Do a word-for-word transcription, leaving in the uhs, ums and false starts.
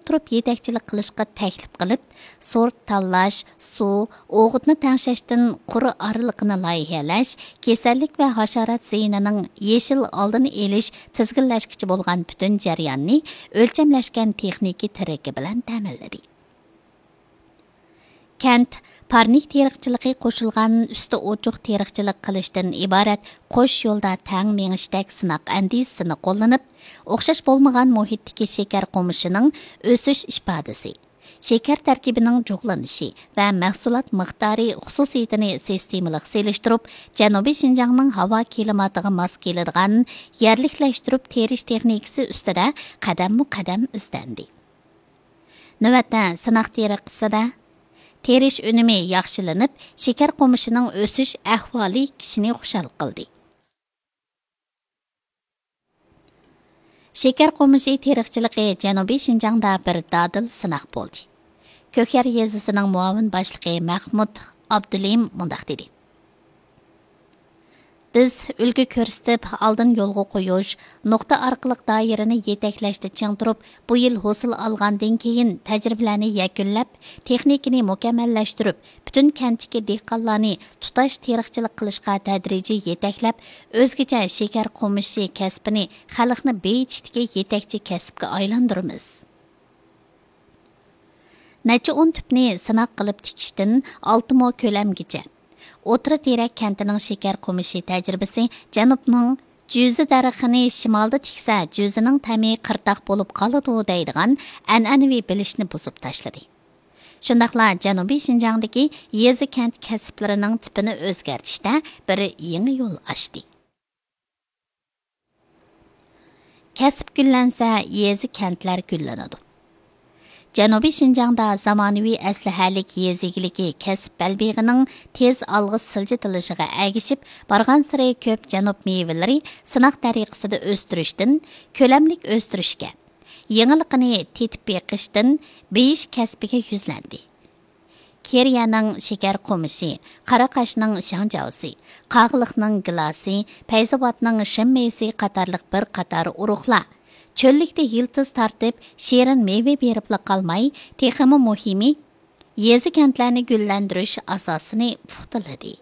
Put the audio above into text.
تۇرۇپ يېتەكچىلىك قىلىشقا تەكلىپ قىلىپ، سورت تاللاش، سۇ، ئوغۇتنى تەڭشەشتىن قۇر ئارىلىقىنى لايىھەلەش، كېسەللىك ۋە ھاشارات زىيىنىنىڭ يېشىل ئالدىنى ئېلىش، تىزگىنلەشكىچە بولغان پۈتۈن جەرياننى ئۆلچەملەشكەن تېخنىكا تىرىكى بىلەن تەمىنلىدى. كەنت پارنىك تېرىقچىلىقى قوشۇلغان ئۈستى ئوچۇق تېرىقچىلىق قىلىشتىن ئىبارەت قوش يولدا تەڭ مېڭىشتەك سىناق ئەندىزىسىنى قوللىنىپ، ئوخشاش بولمىغان مۇھىتتىكى شېكەر قومۇشىنىڭ ئۆسۈش ئىپادىسى، شېكەر تەركىبىنىڭ جۇغلىنىشى ۋە مەھسۇلات مىقدارى خۇسۇسىيىتىنى سىستېمىلىق سېلىشتۇرۇپ، جەنۇبىي شىنجاڭنىڭ ھاۋا كىلىماتىغا ماس كېلىدىغان يەرلىكلەشتۈرۈپ تېرىش تېخنىكىسى ئۈستىدە قەدەممۇ قەدەم ئىزدەندى. نۆۋەتتە سىناق تېرىقچىسىدە تېرىش ئۈنۈمى ياخشىلىنىپ، شېكەر قومۇشىنىڭ ئۆسۈش ئەھۋالى كىشىنى خۇشال قىلدى. شېكەر قومۇشى تېرىقچىلىقى جەنۇبىي شىنجاڭدا بىر دادىل سىناق بولدى. كۆكيەر يېزىسىنىڭ مۇئاۋىن باشلىقى مەخمۇت ئابدۇلىم مۇنداق دېدى: بىز ئۈلگە كۆرسىتىپ، ئالدىن يولغا قويۇش، نۇقتا ئارقىلىق دائىرىنى يېتەكلەشتە چىڭ تۇرۇپ، بۇ يىل ھوسۇل ئالغاندىن كېيىن تەجرىبىلەرنى يەكۈنلەپ، تېخنىكىنى مۇكەممەللەشتۈرۈپ، پۈتۈن كەنتتىكى دېھقانلارنى تۇتاش تېرىقچىلىق قىلىشقا تەدرىجىي يېتەكلەپ، ئۆزگىچە شېكەر قومۇشى كەسپىنى خەلقنى بېيىتىشتىكى يېتەكچى كەسىپكە ئايلاندۇرىمىز. نەچچە ئون تۈپنى سىناق قىلىپ تىكىشتىن ئالتە مو كۆلەمگىچە. ئوتتۇرا تېرەك كەنتىنىڭ شېكەر قومۇشى تەجرىبىسى جەنۇبنىڭ «جۈزە دەرىخىنى شىمالدا تىكسە، جۈزىنىڭ تەمى قىرتاق بولۇپ قالىدۇ» دەيدىغان ئەنئەنىۋى بىلىشنى بۇزۇپ تاشلىدى. شۇنداقلا جەنۇبىي شىنجاڭدىكى يېزا كەنت كەسىپلىرىنىڭ تىپىنى ئۆزگەرتىشتە بىر يېڭى يول ئاچتى. كەسىپ گۈللەنسە، يېزا كەنتلەر گۈللىنىدۇ. جەنۇبىي شىنجاڭدا زامانىۋى ئەسلىھەلىك يېزا ئىگىلىكى كەسىپ بەلبېغىنىڭ تېز ئالغا سىلجىتىلىشىغا ئەگىشىپ، بارغانسېرى كۆپ جەنۇب مېۋىلىرى سىناق تەرىقىسىدە ئۆستۈرۈشتىن كۆلەملىك ئۆستۈرۈشكە، يېڭىلىقىنى تېتىپ بېقىشتىن بېيىش كەسپىگە يۈزلەندى. كېرىيەنىڭ شېكەر قومۇشى، قاراقاشنىڭ شاڭجاۋسى، قاغىلىقنىڭ گىلاسى، پەيزاۋاتنىڭ شىنمېيسى قاتارلىق بىر قاتار ئۇرۇقلار چۆللۈكتە يىلتىز تارتىپ، شېرىن مېۋە بېرىپلا قالماي، تېخىمۇ مۇھىمى، يېزا كەنتلەرنى گۈللەندۈرۈش ئاساسىنى پۇختىلىدى.